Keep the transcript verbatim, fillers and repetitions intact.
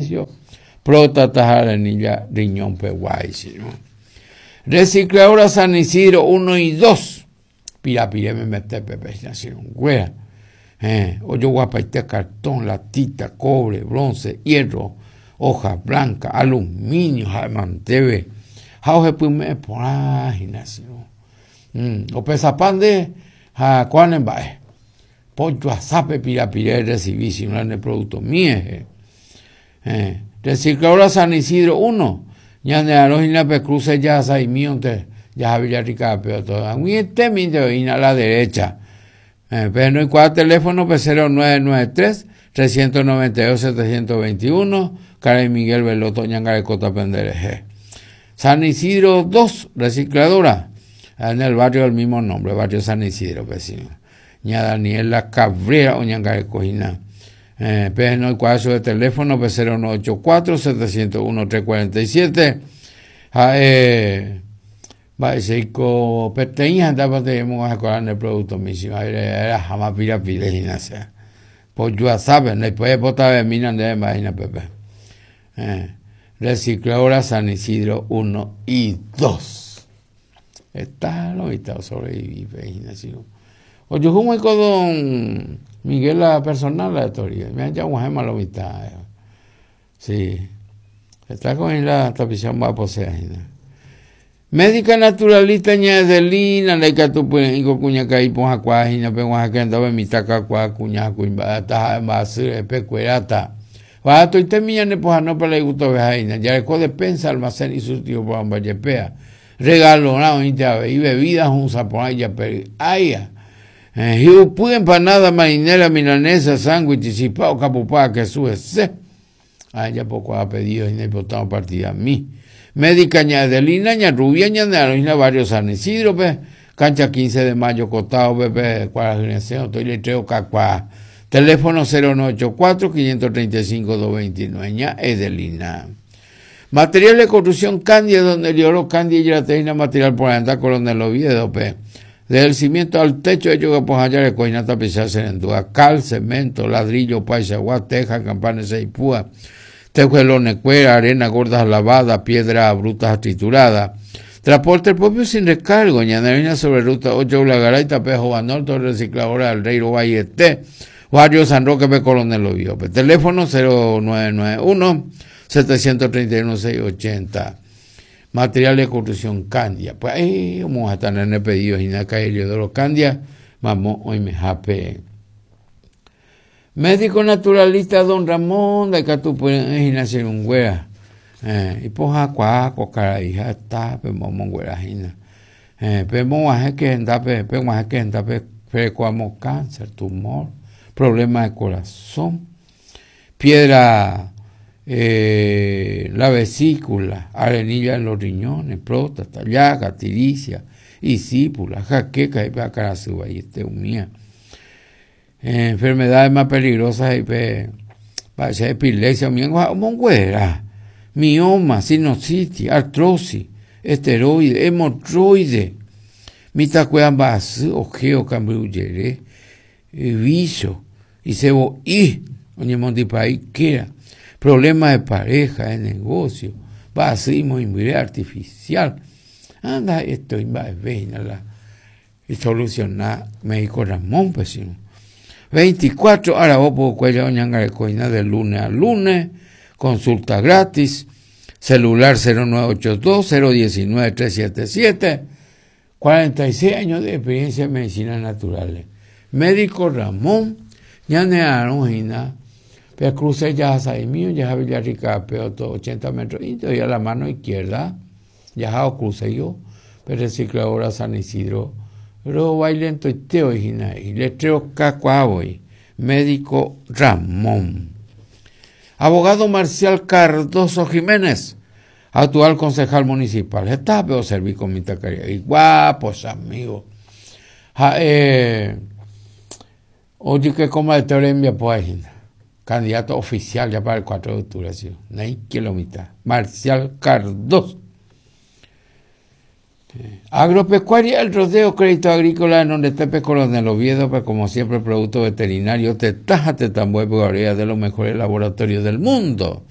servicio, próstata, arenilla, riñón, peguay, ¿no? Recicladora San Isidro uno y dos, pirapire me mete pepe, güera. Eh, ojoguapaite cartón, latita, cobre, bronce, hierro, hoja blanca, aluminio, ha'e manteve ha ohepyme'ẽ porã hína mm, opesapa nde ha kóa ne mba'e pojoasápe pirapire recibí sino ne producto mie eh, Recicladora San Isidro uno ñane arroz hína pe cruce ya saimíonte ya Villarrica pero todo ag̃uiete oĩna a la derecha. Eh, pero no hay teléfono P cero nueve nueve tres, trescientos noventa y dos, setecientos veintiuno, Karen Miguel Veloto, Ñangarecota Pendereje. San Isidro dos, recicladora, en el barrio del mismo nombre, barrio San Isidro, vecino. Ña Daniela Cabrera, o Ñangarecojina. Eh, pero no hay cuatro de teléfono, P cero nueve ocho cuatro, setecientos uno, trescientos cuarenta y siete. Ah, eh, va, seiko peteĩ andaba de hemos a el producto mismo, era jamás pira pide gimnasia. Pues yo sabe, no puede botar de mina de imagina Pepe. Eh, recicladora San Isidro uno y dos. Está lo visto sobrevive gimnasia. O yo como con don Miguel la personal la teoría, me han llamado lo mitad. Sí. Está con la tapización va a poseer. Médica naturalista ña Edelina, la tu ingo cuña kai ponja cuajina, pe oaxaca be mitaka cua cuña cuimba ta mbasy pe cuerata. Va to itemiña ne poja no para gusto vejaina, ya le despensa almacén y surtido por ambayepea. Regalo na ointe y bebidas un sapón ya pe ay. Eh hiu empanada marinera milanesa sándwich chipao capupá que sube se. Ay ya poco ha pedido y no botado partida a mí. Médica ña Edelina, ña Rubia, ña de barrio San Isidro, pe, cancha quince de mayo, costado, pepe, cuál estoy letreo cacuá. Teléfono cero nueve ocho cuatro, quinientos treinta y cinco, doscientos veintinueve, ña Edelina. Material de construcción Candia, donde el oro Candia y la teina material por andar Coronel Oviedo, pe. Desde el cimiento al techo, hecho que pues allá le coina tapizarse en duda, cal, cemento, ladrillo, paisagua, teja, campanas y púa. Tejuelones, cuera, arena gorda lavada, piedra bruta triturada. Transporte propio sin recargo, ñanarina sobre ruta ocho, Ulagaray, Tapejo, Banorte, recicladora del Rey Valle T, Barrio San Roque, P. Coronel Oviedo. Teléfono cero nueve nueve uno, setecientos treinta y uno, seiscientos ochenta. Material de construcción Candia. Pues ahí vamos a estar en el pedido Ginaca y Eliodoro Candia. Vamos, hoy me jape. Médico naturalista don Ramón de Catupuenajina eh, y poja cuaco cara hija está pe momongüerajina. Eh, pe moaje que enda pe pe moaje que enda pe frecuamo cáncer, tumor, problema de corazón, piedra eh, la vesícula, arenilla en los riñones, próstata, llaga, tiricia, isípula, jaqueca y pa carasuba y este humía. Eh, enfermedades más peligrosas y pe, pa, epilepsia, mongüera, mioma, sinusitis, artrosis, esteroide, hemorroide, mitacueambasy, ojeo, cambruyere, vicio, y cebo y, oñemondipaí, quera, problemas de pareja, de negocio, basismo, inmune artificial. Anda, esto va a la y solucionar médico Ramón, pues sí. veinticuatro horas vos puedo cuello oñangarecoina de lunes a lunes, consulta gratis, celular cero nueve ocho dos, cero diecinueve, tres siete siete, cuarenta y seis años de experiencia en medicina naturales. Médico Ramón, ñane aronjina, pero cruce ya mío, ya Villarrica, pero todo ochenta metros, y todavía la mano izquierda, ya o cruce yo, pero recicladora San Isidro, pero bailento y teo y y letreo cacuaboy, médico Ramón. Abogado Marcial Cardoso Jiménez, actual concejal municipal. Está peor servir con mi tacaría. Y guapos, amigos. Ja, eh, oye, que como de teoría pues, candidato oficial ya para el cuatro de octubre, ¿sí? No hay que lo mitad. Marcial Cardoso. Agropecuaria, el rodeo, crédito agrícola en donde te Coronel Oviedo, pues como siempre, producto veterinario, te taja, te tambué, de los mejores laboratorios del mundo.